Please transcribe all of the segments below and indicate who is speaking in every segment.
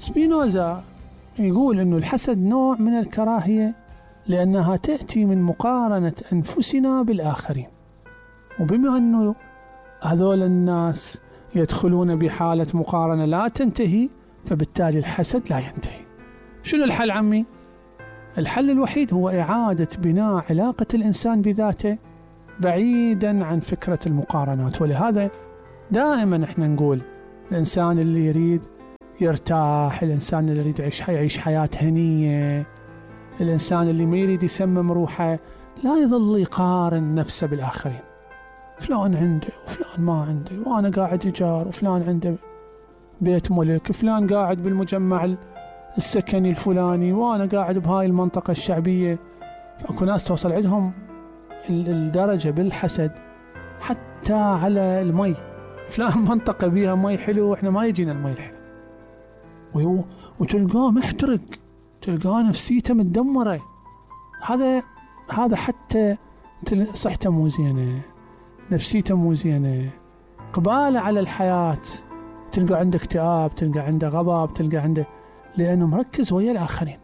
Speaker 1: سبينوزا يقول أنه الحسد نوع من الكراهية لأنها تأتي من مقارنة أنفسنا بالآخرين، وبما أنه هذول الناس يدخلون بحالة مقارنة لا تنتهي، فبالتالي الحسد لا ينتهي. شنو الحل عمي؟ الحل الوحيد هو إعادة بناء علاقة الإنسان بذاته بعيدا عن فكرة المقارنات. ولهذا دائما احنا نقول الإنسان اللي يريد يرتاح، الإنسان اللي يريد يعيش حياة هنية، الإنسان اللي ما يريد يسمم روحه، لا يظل يقارن نفسه بالآخرين. فلان عنده وفلان ما عنده، وأنا قاعد إيجار وفلان عنده بيت ملك، فلان قاعد بالمجمع السكني الفلاني وأنا قاعد بهاي المنطقة الشعبية. فأكو ناس توصل عندهم الدرجة بالحسد حتى على المي، فلان منطقة بيها مي حلو وإحنا ما يجينا المي الحلو، وتلقاه محترق، تلقاه نفسيته متدمرة. هذا حتى صحته مو زينة، نفسيته مو زينة، قباله على الحياة، تلقى عنده اكتئاب، تلقى عنده غضب، تلقى عنده، لأنه مركز ويا الآخرين.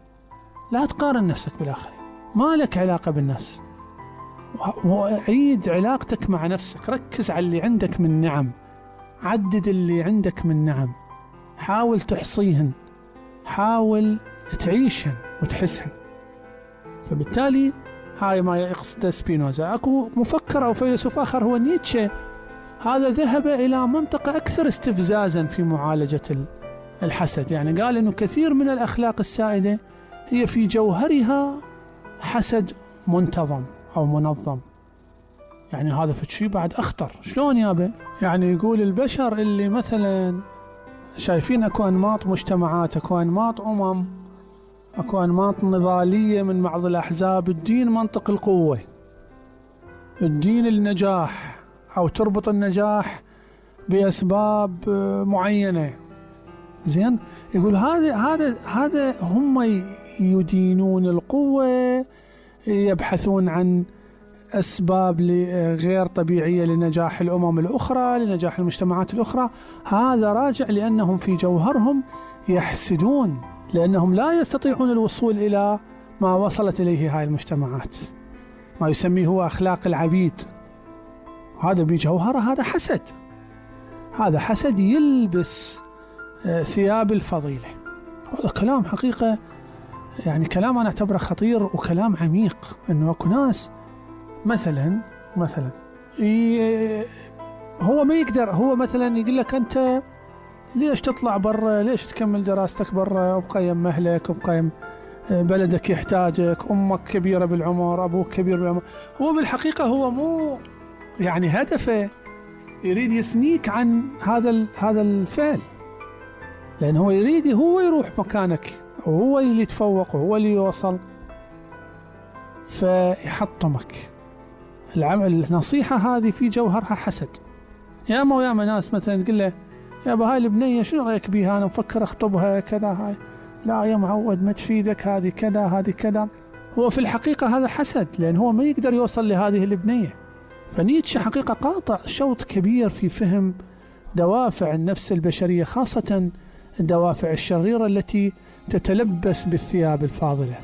Speaker 1: لا تقارن نفسك بالآخرين، ما لك علاقة بالناس، وعيد علاقتك مع نفسك، ركز على اللي عندك من نعم، عدد اللي عندك من نعم، حاول تحصيهن، حاول تعيشهن وتحسهن. فبالتالي هاي ما يقصد سبينوزا. اكو مفكر او فيلسوف اخر هو نيتشه، هذا ذهب الى منطقة اكثر استفزازا في معالجة الحسد. يعني قال انه كثير من الاخلاق السائدة هي في جوهرها حسد منتظم او منظم. يعني هذا فشي بعد اخطر. شلون يابا؟ يعني يقول البشر اللي مثلا شايفين اكو انماط مجتمعات، اكو انماط اكو انماط نضالية من بعض الاحزاب، الدين منطق القوة، الدين النجاح، او تربط النجاح باسباب معينة. زين، يقول هذا هم يدينون القوة، يبحثون عن أسباب غير طبيعية لنجاح الأمم الأخرى، لنجاح المجتمعات الأخرى. هذا راجع لأنهم في جوهرهم يحسدون، لأنهم لا يستطيعون الوصول إلى ما وصلت إليه هاي المجتمعات، ما يسميه هو أخلاق العبيد. هذا بجوهره هذا حسد، هذا حسد يلبس ثياب الفضيلة. هذا كلام حقيقة، يعني كلام أنا أعتبره خطير وكلام عميق. إنه أكو ناس مثلا هو ما يقدر، هو مثلا يقول لك أنت ليش تطلع برا، ليش تكمل دراستك برا، وبقيم مهلك، وبقيم بلدك يحتاجك، أمك كبيرة بالعمر، أبوك كبير بالعمر. هو بالحقيقة هو مو يعني هدفه يريد يثنيك عن هذا الفعل، لأنه هو يريد هو يروح مكانك، وهو اللي يتفوق، وهو اللي يوصل، فيحطمك. النصيحة هذه في جوهرها حسد. ياما ناس مثلا تقول له يا هاي البنية شنو رأيك بيها، أنا مفكر أخطبها كذا، هاي لا يا معود ما تفيدك، هذه كذا هذه كذا. هو في الحقيقة هذا حسد، لأن هو ما يقدر يوصل لهذه البنية. فنيتشه حقيقة قاطع شوط كبير في فهم دوافع النفس البشرية، خاصة الدوافع الشريرة التي تتلبس بالثياب الفاضلة.